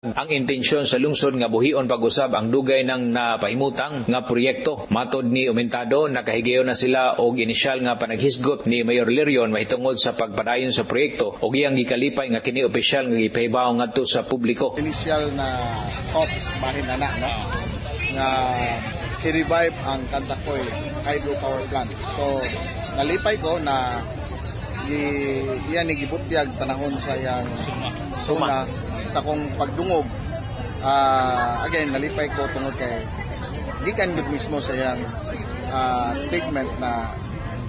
Ang intensyon sa lungsod nga buhion pag-usab ang dugay nang napahimutang nga proyekto. Matod ni Umentado, nakahigayon na sila og inisyal nga panaghisgot ni Mayor Lirion mahitungod sa pagpadayon sa proyekto og iyang gikalipay nga kini opisyal nga gipahibaw ngadto sa publiko. Initial na thoughts bahin na na, no? Nga i-revive ang Kantakoy hydropower plant. So, nalipay ko na iyan ni gibutyag panahon sa iyang suna sa kong pagdungog. Again, nalipay ko tungod kay gikan gud mismo sa iyang statement na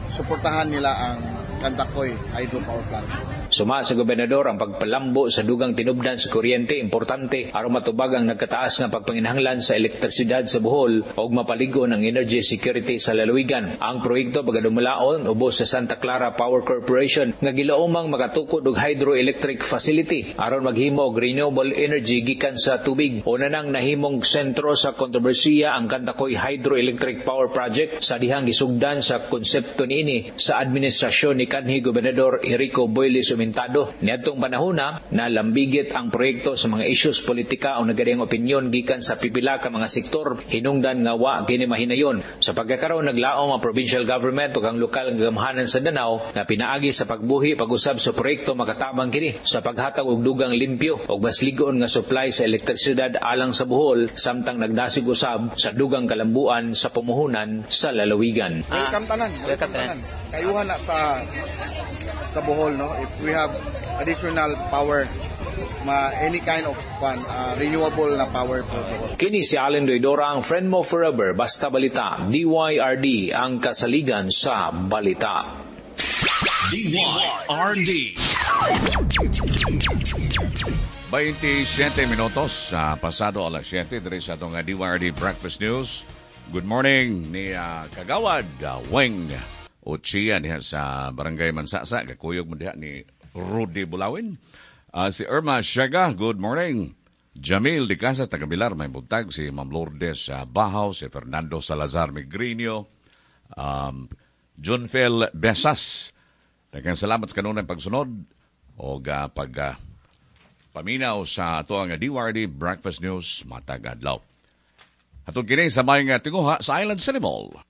suportahan nila ang Kantakoy hydropower plant. Suma sa gobernador, ang pagpalambo sa dugang tinubdan sa kuryente importante aron matubag ang nagkataas nga pagpanginahanglan sa elektrisidad sa Bohol ug mapaligon ang energy security sa lalawigan. Ang proyekto pagadumalaon ubos sa Santa Clara Power Corporation nga gilaumang makatukod og hydroelectric facility aron maghimo og renewable energy gikan sa tubig. Una nang nahimong sentro sa kontrobersiya ang Kantakoy Hydroelectric Power Project sa dihang gisugdan sa konsepto niini sa administrasyon ni kanhi Gobernador Enrico Boyles Umentado. Niadtong panahona, nalambigit ang proyekto sa mga isyus politika o nagkadiyang opinyon gikan sa pipila ka mga sektor, hinungdan nga wa kini mahinayon. Sa pagkakaroon, naglaom ang provincial government ug ang lokal nga gamhanan sa Danao nga pinaagi sa pagbuhi pag-usab sa proyekto, makatabang kini sa paghatag og dugang limpyo ug mas lig-on nga supply sa elektrisidad alang sa Bohol, samtang nagdasig usab sa dugang kalambuan sa pumuhunan sa lalawigan. Welcome tanan. Welcome tanan. Kayuhan na sa Bohol, no, if we have additional power, ma any kind of fun, renewable na power for Bohol. Kini si Allen Doidora, ang friend mo forever, Basta Balita, DYRD, ang kasaligan sa balita. DYRD. 27 minutos sa pasado alas 7 diri sa atong DYRD Breakfast News. Good morning ni Kagawad Weng Ochia diha sa Barangay Mansasa. Gakuyog mo diha ni Rudy Bulawin. Si Irma Siaga, good morning. Jamil Di Casas, taga Bilar, may buntag. Si Ma'am Lourdes Bahaw, si Fernando Salazar Migrinio, Junfel Besas. Daghang salamat sa kanunay pagsunod o pag paminaw sa ato ang DYRD Breakfast News matag adlaw. Hatod kini sa may tinguha sa Island City Mall.